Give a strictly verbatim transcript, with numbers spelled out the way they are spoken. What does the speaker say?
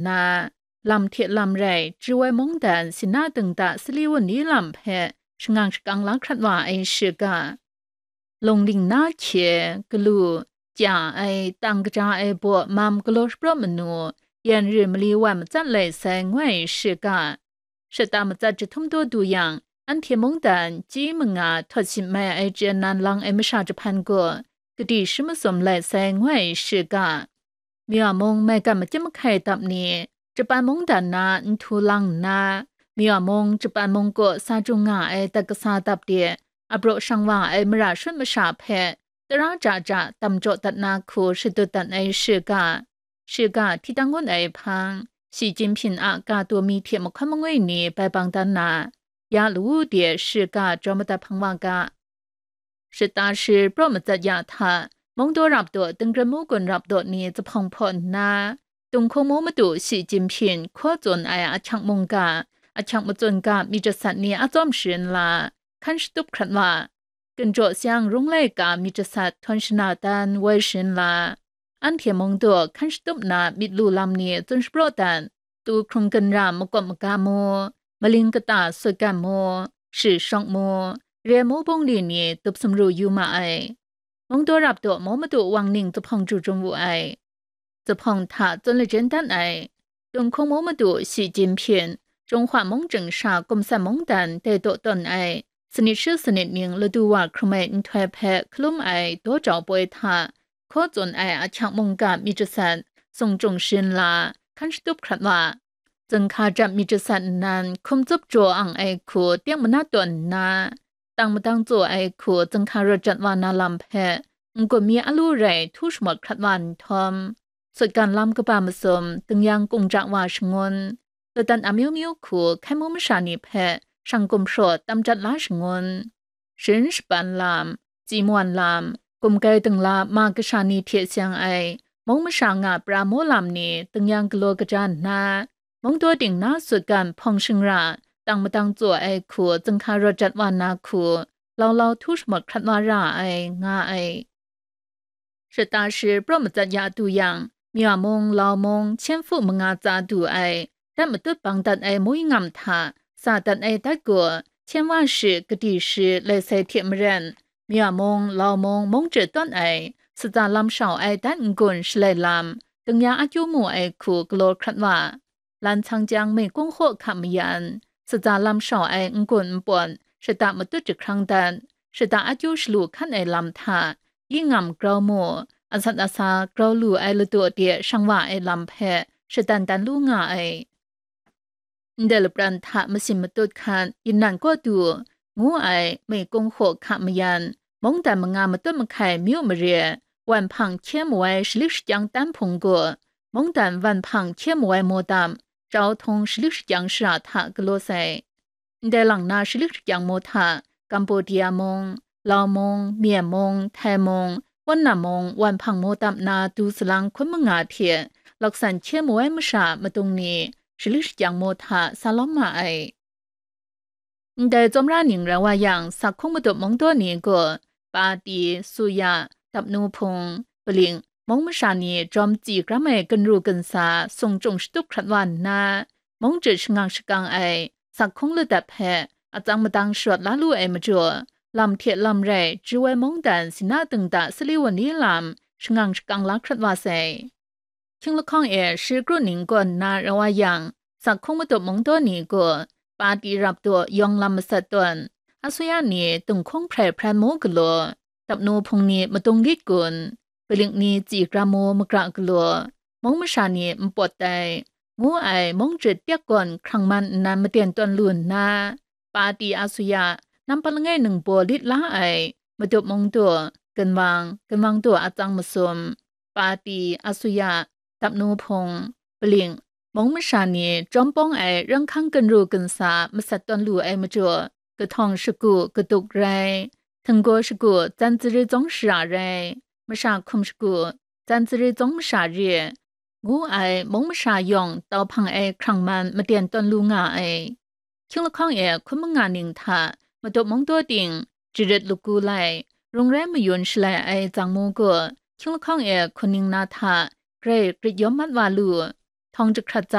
nna, lam hte lam rai chyu ai mungdan sina dingda sali wunli lam hpe shangang shakang la hkrat wa ai shiga. Lungling na hkye, galu, chya ai, tang kaja ai baw mam galaw shapraw manu, yan ri mali wan matsat lai sai ngu ai shiga. Shata matsat jahtum daw du yang, anhte mungdan chyi manga htawt shin mai ai chyen nan lang ai masha jahpan gaw, kadi shi masum lai sai ngu ai shiga. Mya mung maigan machyim mahkai dap ni, Japan mungdan na nhtu lang nna, Mya mung Japan mungkaw sa jung nga ai dat kasa dap de, apraw shang wa ai mara shut masha hpe, tara ja ja dam jaw dat na hku shadut dat ai shiga, shiga hti tang ngun ai hpang, Shi Jinping a ka taw mi hte mahkawn mangwi ni bai bang dan na, ya lawu de shiga jaw madat hpang wa ga. Shata shi praw matsat ya hta, Mungdaw rap daw, Dingren mu gun rap daw ni zuphpawng hpaw nna, Tunghkung mu madu Shi Jinping hkaw tsun ai ahkyak mungga, ahkyak matsun ga myit jasat ni a tsawm sharin la, hkan shatup hkrat wa, Ginjaw Siang rung laika myit jasat htawn shana dan woi sharin la, anhte mungdaw hkan shatup na myit lu lam ni tsun shapraw dat, tu hkrung ginra makawp maga mu, maling kata sutgan mu, shi shawk mu, re mu bungli ni tup sumru yu ma ai. Mungdaw rap daw mu madu wang ning zuphpawng ju jung wu ai. Zuphpawng hta tsun lajyen dan ai. Tunghkung mu madu Shi Jinping, Jinghwa mung chying sha kumsan mungdan dai daw tawn ai, sanit shi sanit ning ladu wa hkrum ai nhtoi hpe hkalum ai daw jau poi hta, hkaw tsun ai ahkyak mungga myit jasat, sung jung sharin la, hkan shatup hkrat wa, zunghka jat myit jasat nnan hkum tsup jaw ang ai hku teng manat tawn nna, tang madang tsaw ai hku zunghka rawt jat wa na lam hpe, n-gun mi a lu rai htu shamawt hkrat wa nhtawm, sutgan lam kaba masum, dingyang kungja wa shangun, ladan amyu myu hku hkai mu masha ni hpe shang gumhpraw tam jat la shangun, sharin shapan lam, tsi mawan lam, gumgai dingla ma kasha ni hte seng ai, mung masha nga pra mu lam ni dingyang galaw kaja nna, mungdaw ting na sutgan hpawng shingra, tang madang tsaw ai hku zunghka rawt jat wa na hku, lau lau htu shamawt hkrat wa ra ai, nga ai. Shata shi praw matsat ya du yang, Mya mung, Lau mung, Hkyen Hpu manga tsa du ai, dat matut bang dat ai mui ngam hta, sa dat ai dat gaw, hkyen wa shi, kadi shi, lai sai hte maren, Mya mung, Lau mung, mung chyu tawn ai, sutsa lam shau ai dat n-gun shalai lam, dingya akyu mu ai hku galaw hkrat wa, lan tsang chyang mei kung hkaw hka mayan, sutsa lam shau ai n-gun npawt, shata matut jahkrang dat, shata akyu shalu hkan ai lam hta, yi ngam grau mu, asat asa grau lu ai ladaw de shang wa ai lam hpe shadan dan lu nga ai. Ndai lapran hta masin matut hkat, yin nan kaw du, ngu ai mei kung hkaw hka mayan, mungdan manga matut mahkai myu mare, wan hpang hkye mawai shalik shakyang tan hpung gaw, mungdan wan hpang hkye mawai mawdam, jau htung shalik shakyang shara hta galaw sai. Ndai lang na shalik shakyang maw hta, Kambodia mung, Lau mung, Myen mung, Htai mung, Wunna mung, wan hpang maw dam na du salang hkun manga hte laksan hkye mawai masha madung ni shalik shakyang maw hta sa lawm ma ai. Ndai tsawmra ning rai wa yang, sakhung madup mungdaw ni gaw, Pati, Suya, Dapnu Hpung, Paling, mung masha ni jawm tsi kram ai ginru ginsa sung chyung shatup hkrat wa nna, mung jut shangang shakang ai, sakhung ladat hpe atsang madang sharawt la lu ai majaw, lam hte lam rai chyu ai mungdan sina dingda sali wunli lam shangang shakang la hkrat wa sai. Hkying lahkawng e shi kru ning gaw nna rai wa yang, sakhung madup mungdaw ni gaw, Pati rap daw yawng lam masat tawn, Asuya ni tunghkung hprai hpran mu galaw, Dapnu Hpung ni madung lit gun, Paling ni tsi kram mu magra galaw, mung masha ni npawt tai, ngu ai mung jut tek gawn hkrang man nnan maten tawn lu nna, Pati Asuya, nampa langai ningbaw lit la ai, madup mungdaw, ginwang, ginwang daw atsang masum, Pati Asuya, Dapnu Hpung, Paling, mung masha ni jawm pawng ai ranghkang ginru ginsa masat tawn lu ai majaw, kahtawng shagu kaduk rai, htinggaw shagu tsan tsari tsawng shara rai, masha hkum shagu tsan tsari tsawng masha re, ngu ai mung masha yawng tau hpang ai hkrang man maten tawn lu nga ai. Hkying lahkawng e hkun manga ning hta madup mungdaw ting, jarit lagu lai, rung rai mayun shalai ai tsang mu gaw, hkying lahkawng e hkun ning na hta grai grit yawm mat wa lu. hpang jahkrat